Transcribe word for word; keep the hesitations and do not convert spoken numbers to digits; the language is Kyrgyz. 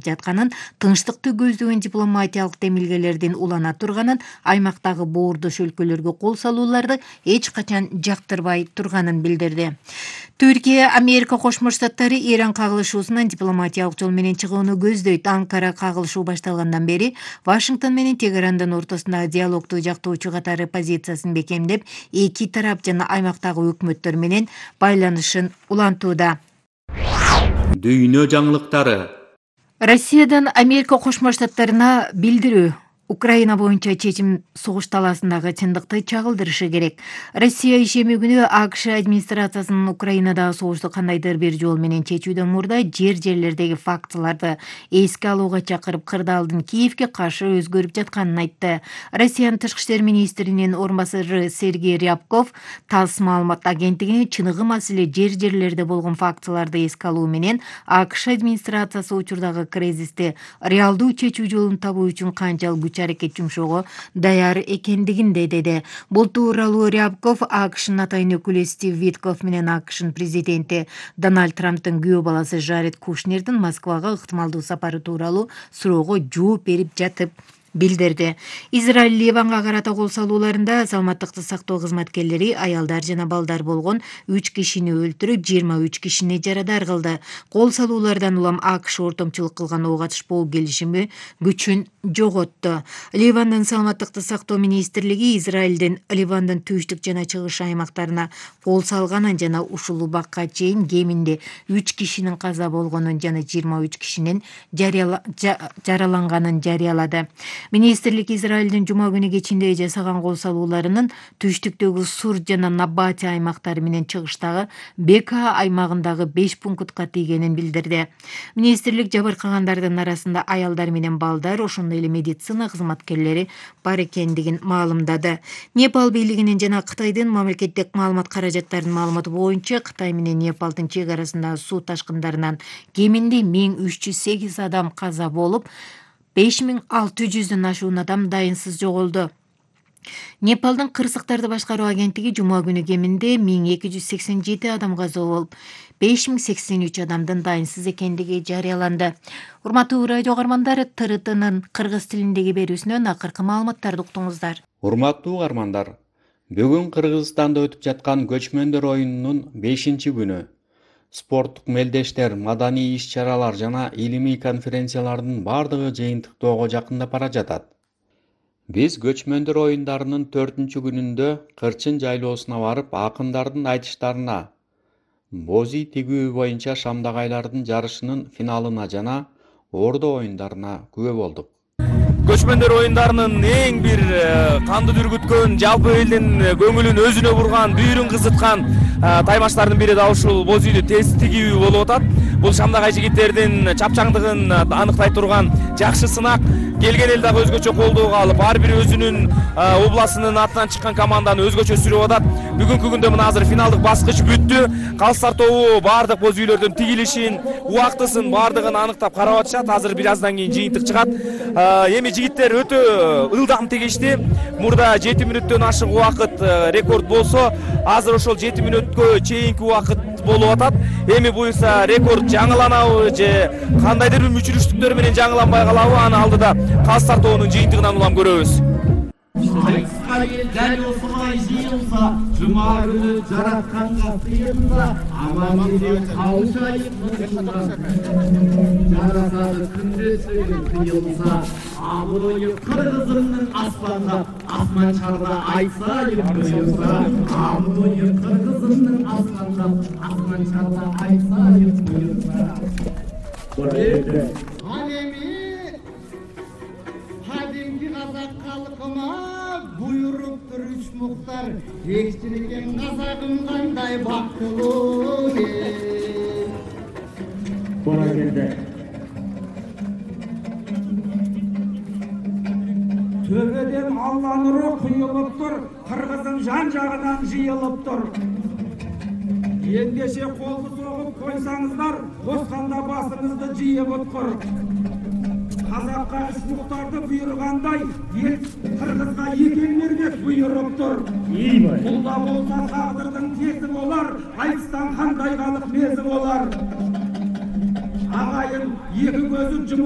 жатканын, тынчтыкты көздөгөн дипломатиялык демилгелердин улана турганын, аймактагы боордош өлкөлөргө кол салууларды эч качан жактырбай турганын билдирди. Түркия Америка Кошмо Штаттары Иран кагылышуусунан дипломатиялык жол менен чыгууну көздөйт. Анкара кагылышуу башталгандан бери Вашингтон менен Тегерандын ортосундагы диалогду жактоочу катары позициясын бекемдеп, эки тарап жана аймактагы өкмөттөр менен байланышын улантууда. Дүйнө жаңылыктары. Россиядан Америка Кошмо Штаттарына билдирүү. Украина боюнча чечим согуш талаасындагы чындыкты чагылдырышы керек. Россия ишеми күнү АКШ администрациясынын Украинадагы согушту кандайдыр бир жол менен чечүүдөн мурда жер-жерлердеги фактыларды эске алууга чакырып, кырдаалдын Киевге каршы өзгөрүп жатканын айтты. Россиянын тышкы иштер министринин орун басары Сергей Рябков ТАСС маалымат агенттигине чыныгы маселе жер-жерлерде болгон фактыларды эске алуу менен АКШ администрациясы учурдагы кризисти реалдуу чечүү жолун табуу үчүн канчалык күч аракет жумшоого даяр экендигинде деди. Бул тууралуу Рябков АКШнын атайын өкүлү Стив Витков менен АКШнын президенти Дональд Трамптын күйөө баласы Жаред Кушнердин Москвага ыктымалдуу сапары тууралуу суроого жооп берип жатып билдирди. Израиль Ливанга карата кол салууларында саламаттыкты сактоо кызматкерлери аялдар жана балдар болгон үч кишини өлтүрүп, жыйырма үч кишини жарадар кылды. Кол салуулардан улам АКШ ортомчулук кылган ого катышпоо келишими күчүн жоготту. Ливандын саламаттыкты сактоо министрлиги Израилдин Ливандын түштүк жана чыгыш аймактарына кол салганын жана ушул убакка чейин кеминде үч кишинин каза болгонун жана жыйырма үч кишинин жараланганын жарыялады. Министрлик Израилдин жума күнү кечинде жасаган кол салууларынын түштүктөгү Сур жана Набати аймактары менен чыгыштагы Бека аймагындагы беш пунктка тийгенин билдирди. Министрлик жабыркагандардын арасында аялдар менен балдар, ошондой эле медицина кызматкерлери бар экендигин маалымдады. Непал бийлигинин жана Кытайдын мамлекеттик маалымат каражаттарынын маалыматы боюнча, Кытай менен Непалдын чек арасындагы суу ташкындарынан кеминде миң үч жүз сегиз адам каза болуп, беш миң алты жүздөн ашуун адам дайынсыз жоголду. Непалдын кырсыктарды башкаруу агенттиги жума күнү кеминде миң эки жүз сексен жети адам каза болуп, беш миң сексен үч адамдын дайынсыз экендиги жарыяланды. Урматтуу радио угармандар, Т Р Тнын кыргыз тилиндеги берүүсүнөн акыркы маалыматтарды уктуңуздар. Урматтуу угармандар, бүгүн Кыргызстанда өтүп жаткан көчмөндөр оюнунун бешинчи күнү. Спорттук мелдештер, маданий иш-чаралар жана илимий конференциялардын бардыгы жыйынтыктоого жакындап бара жатат. Биз көчмөндөр оюндарынын төртүнчү күнүндө Кырчын жайлоосуна барып, акындардын айтыштарына, бози тигүү боюнча шамдагайлардын жарышынын финалына жана ордо оюндарына күбө болдук. Көчмөндөр оюндарынын эң бир канды дүргүткөн, жалпы элдин көңүлүн өзүнө бурган, бүйүрүн кызыткан таймаштардын бири да ушул боз үйдү тез тигүү болуп атат. Бул шамдагай жигиттердин чапчаңдыгын аныктай турган жакшы сынак. Келген эл дагы өзгөчө колдоого алып, ар бири өзүнүн областынын атынан чыккан команданы өзгөчө сүрөп атат. Бүгүнкү күндө мына азыр финалдык баскыч бүттү. Калыстар тобу бардык боз үйлөрдүн тигилишин, убактысын бардыгын аныктап карап атышат. Азыр бир аздан кийин жыйынтык чыгат. Эми жигиттер өтө ылдам тигишти. Мурда жети мүнөттөн ашык убакыт рекорд болсо, азыр ошол жети мүнөткө чейинки убакыт болуп атат. Эми буюрса рекорд жаңыланабы же кандайдыр бир мүчүрүштүктөр менен жаңыланбай калабы, аны алдыда Калыстар тобунун жыйынтыгынан улам көрөбүз. Дәл осылай жиылса, жұма күні жаратқанға сыйынса, аман елден қауышайық мұнда. Жарасады күнде сөйлем қиылса, абыройы қырғызымның аспанда, асман шарда айтсайық бұйырса. Абыройы қырғызымның аспанда, асман шарда айтсайық бұйырса. Қазақ халқыма бұйырып тұр үш мұхтар, ешірген қазағым қандай бақытты ел. Бора келді. Төбеден Алла нұры құйылып тұр, қырғыздың жан жағынан жиылып тұр. Ендеше қолды соғып қойсаңыздар, қосқанда басыңызды жиып ұтқыр. Қазаққа үш мұхтарды бұйырғандай, ел қырғызға екен бермек бұйырып тұр. Құлда болса тағдырдың тезі болар, айтыстан қандай халық мезі болар. агайын эки көзү жумулуп